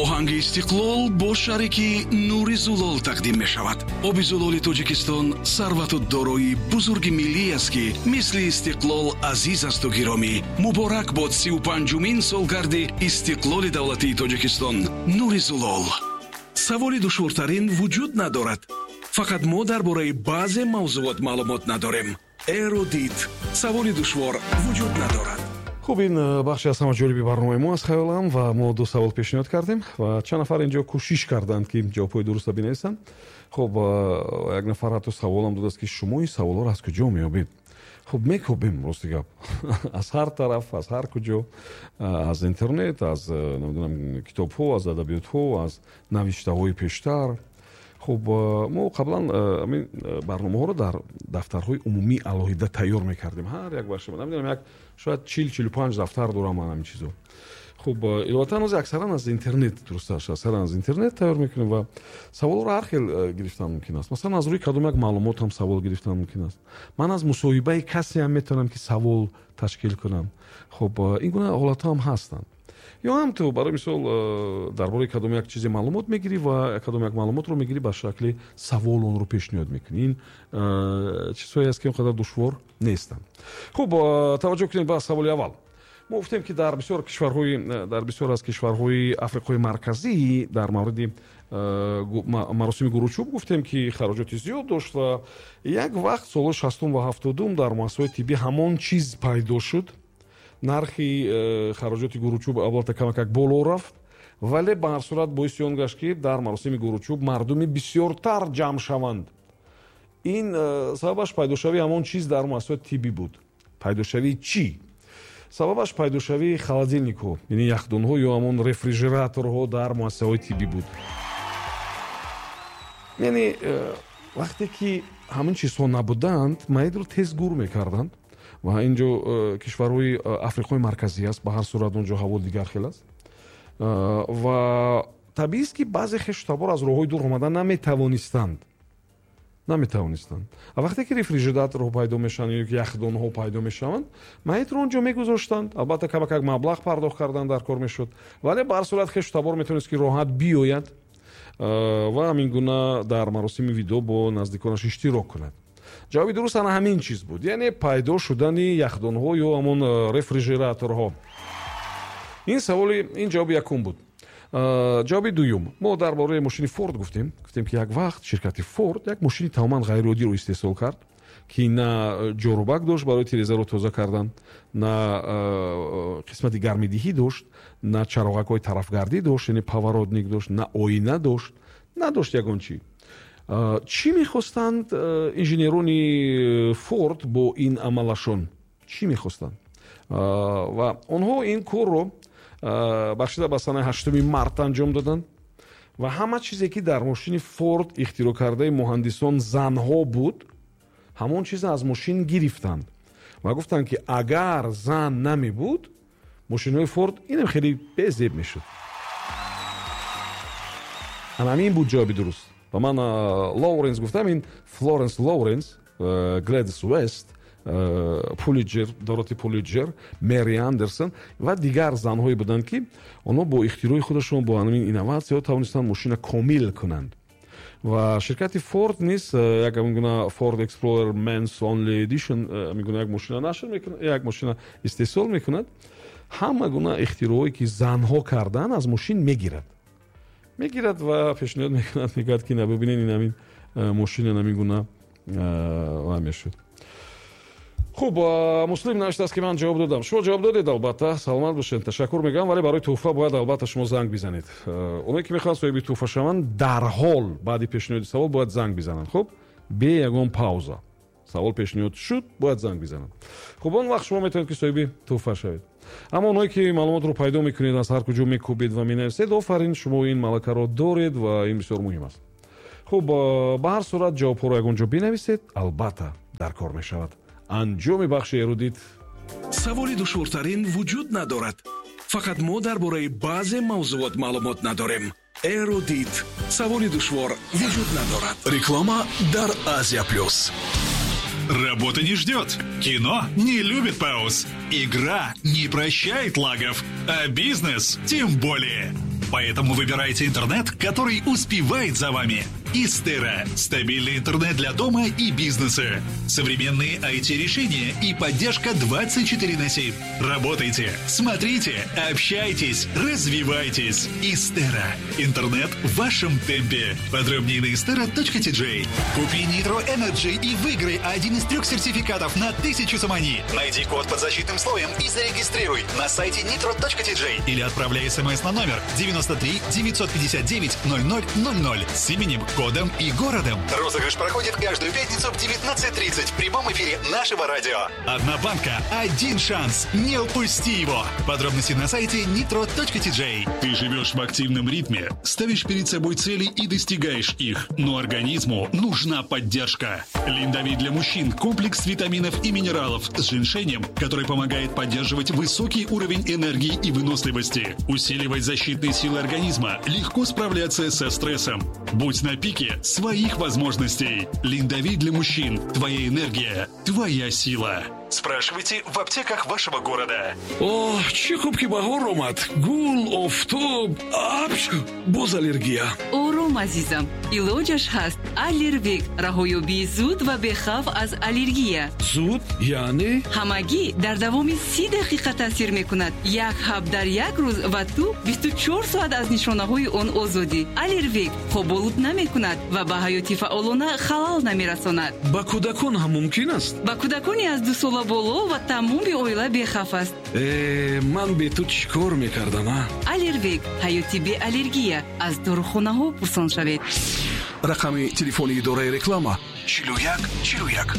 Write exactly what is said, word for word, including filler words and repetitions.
Оҳанги Истиқлол бо шарики Нури Зулол тақдим мешавад. Оби зулоли Тоҷикистон сарвату дорои бузурги миллӣ аст, ки мисли истиқлол азиз асту гиромӣ. Муборак бод сию панҷумин солгарди истиқлоли давлатии Тоҷикистон. Нури Зулол. Саволи душвортарин вуҷуд надорад, фақат мо дар бораи баъзе мавзуот маълумот надорем. Эрудит. Саволи душвор вуҷуд надорад. Хуб, ин э, бахши аз ҳама ҷолиби барномаи мо аст, хаёлам, ва мо ду савол пешниҳод кардем ва чанд нафар инҷо кӯшиш карданд, ки ҷавобҳои дурустро бинависанд. Хуб, э, як нафар ҳатто саволам додааст, ки шумо ин саволҳоро аз куҷо меёбед? Хуб, мекобем, рости гап, аз ҳар тараф, аз ҳар куҷо, э, аз интернет, аз, намедонам, китобҳо, аз адабиётҳо, аз навиштаҳои пештар. Хуб, мо қаблан ҳамин барномаҳоро дар дафтарҳои умумӣ алоҳида тайёр мекардем. Ҳар як бахш, намедонам, як шояд чил чилу панҷ дафтар дорам ман ҳамин чизо. Хуб, иловатан ҳозир аксаран аз интернет, дурусташ, аксаран аз интернет тайёр мекунем ва саволҳоро ҳар хел гирифтан мумкин аст. Масалан, аз рӯи кадом як маълумот ҳам савол гирифтан мумкин аст. Ман аз мусоҳибаи касе ҳам метавонам, ки савол ташкил кунам. Хуб, ин гуна ҳолатҳо ҳам ҳастанд. Ё ҳам ту, барои мисол, э, дар бораи кадом як чизе маълумот мегирӣ ва кадом як маълумотро мегирӣ, ба шакли савол онро пешниҳод мекунӣ. Ин э, чизҳое аст, ки он қадар душвор нестанд. Хуб, э, таваҷҷӯҳ кунед ба саволи аввал. Мо гуфтем, ки дар бисёр кишварҳои дар бисёр аз кишварҳои Африқои Марказӣ дар мавриди маросими гуручӯб гуфтем, ки хароҷоти зиёд дошт ва як вақт, солҳои шастум ва ҳафтодум, дар муассисаҳои тиббӣ ҳамон чиз пайдо шуд. Нархи э, хароҷоти гуручӯб албатта камакак боло рафт, вале ба ҳар сурат боиси он гашт, ки дар маросими гуручӯб мардуми бисёртар ҷамъ шаванд. Ин э, сабабаш пайдошавии ҳамон чиз дар муассисаҳои тиббӣ буд. Пайдошавии чӣ? Сабабаш пайдошавии холодильникҳо, яъне яхдонҳо ё ҳамон рефрижераторҳо дар муассисаҳои тиббӣ буд. Яъне э, вақте ки ҳамин чизҳо набуданд, маидро тез гур мекарданд. Ва ин ҷо э, кишварҳои э, Африқои Марказӣ аст, ба ҳар сурат он ҷо ҳаво дигар хел аст э, ва табиист, ки баъзе хешу табор аз роҳҳои дур омада наметавонистанд наметавонистанд А вақте ки рефрижераторҳо пайдо мешаванд ё ки яхдонҳо пайдо мешаванд, маитро он ҷо мегузоштанд. Албатта, камакак маблағ пардохт кардан дар кор мешуд, вале ба ҳар сурат хешу табор метавонист, ки роҳат биёяд ва ҳамин гуна дар маросими видо бо наздиконаш иштирок кунад. Ҷавоби дуруст ана ҳамин чиз буд, яъне пайдо шудани яхдонҳо ё ҳамон э, рефрижераторҳо. Ин саволи, ин ҷавоби якум буд. э, ҷавоби дуюм: мо дар бораи мошини Форд гуфтем. Гуфтем, ки як вақт ширкати Форд як мошини тамоман ғайриоддиро истеҳсол кард, ки на ҷорубак дошт барои тирезаро тоза кардан, на э, қисмати гармидиҳӣ дошт, на чароғакҳои тарафгардӣ дошт, яъне поворотник дошт, на оина дошт, надошт ягон чӣ. Чӣ мехостанд инженерони Форд бо ин амалашон? Чӣ мехостанд? Ва онҳо ин корро бахшида ба санаи ҳаштуми март анҷом доданд ва ҳама чизе, ки дар мошини Форд ихтироъ кардаи муҳандисон занҳо буд, ҳамон чиза аз мошин гирифтанд ва гуфтанд, ки агар зан намебуд, мошинҳои Форд инам хеле безеб мешуд. Ана ҳамин буд ҷавоби дуруст. Ва ман Лоуренс гуфтам, ин Флоренс Лоуренс, Гледис Вест, Пулиҷер, Дороти Пулиҷер, Мери Андерсон ва дигар занҳое буданд, ки онҳо бо ихтирои худашон, бо ҳамин инноватсияҳо тавонистанд мошина комил кунанд. Ва ширкати Форд низ як ҳамин гуна Ford Explorer Men's Only Edition, ҳамин гуна як мошина нашр мекунад, як мошина истеҳсол мекунад. Ҳама гуна ихтироҳое, ки занҳо карданд, аз мошин мегирад мегирад ва пешниҳод мекунад, мегӯяд, ки на, бибинед, ин ҳамин мошина ҳамин гуна ва мешуд. Хуб, Муслим навиштааст, ки ман ҷавоб додам. Шумо ҷавоб додед, албатта, саломат бошед, ташаккур мегӯям, вале барои тӯҳфа бояд албатта шумо занг бизанед. Оное, ки мехоҳанд соҳиби тӯҳфа шаванд, дарҳол баъди пешниҳоди савол бояд занг бизананд. Хуб, бе ягон пауза савол пешниҳод шуд, бояд занг бизананд. Хуб, он вақт шумо метавонед, ки соҳиби тӯҳфа шавед. Аммо онҳое, ки маълумотро пайдо мекунед, аз ҳар куҷо мекӯбед ва менависед, офарин, шумо ин малакаро доред ва ин бисёр муҳим аст. Хуб, ба ҳар сурат ҷавобҳоро ягон ҷо бинависед, албатта дар кор мешавад. Анҷоми бахши Эрудит. Саволи душвортарин вуҷуд надорад, фақат мо дар бораи баъзе мавзуот маълумот надорем. Эрудит. Саволи душвор вуҷуд надорад. Реклама дар Азия Плюс. Работа не ждет, кино не любит пауз, игра не прощает лагов, а бизнес тем более. Поэтому выбирайте интернет, который успевает за вами. Истера. Стабильный интернет для дома и бизнеса. Современные ай ти-решения и поддержка двадцать четыре на семь. Работайте, смотрите, общайтесь, развивайтесь. Истера. Интернет в вашем темпе. Подробнее на истера точка ти джей. Купи Nitro Energy и выиграй один из трех сертификатов на тысячу сомони. Найди код под защитным слоем и зарегистрируй на сайте nitro точка ти джей или отправляй смс на номер девяносто три девятьсот пятьдесят девять ноль ноль ноль ноль с именем, кодом и городом. Розыгрыш проходит каждую пятницу в девятнадцать тридцать в прямом эфире нашего радио. Одна банка, один шанс. Не упусти его. Подробности на сайте nitro точка ти джей. Ты живешь в активном ритме, ставишь перед собой цели и достигаешь их. Но организму нужна поддержка. Линдовит для мужчин – комплекс витаминов и минералов с женьшенем, который помогает поддерживать высокий уровень энергии и выносливости, усиливать защитные силы организма, легко справляться со стрессом. Будь на пике своих возможностей. Линдовит для мужчин. Твоя энергия, твоя сила. Спрашивайте в аптеках вашего города. О, чӣ хуб ки баҳор омад. Гул, офтоб, апш, боз аллергия. Ором, азизам. Илоҷаш ҳаст. Аллервек. Раҳоёбии зуд ва бехавф аз аллергия. Зуд? Яъне? Ҳамагӣ дар давоми си дақиқа таъсир мекунад. Як ҳаб дар як рӯз ва ту бисту чор соат аз нишонаҳои он озодӣ. Аллервек хоболуд намекунад ва ба ҳаёти фаъолона халал намерасонад. Ба кӯдакон ҳам мумкин аст? Ба кӯдакони аз ду сола боло ва тамоми оила бехавф аст. Э, ман бе ту чӣ кор мекардам, а? Аллервек. Ҳаёти беаллергия. Аз дорухонаҳо пурсон шавед. Рақами телефони идораи реклама чилу як чилу як.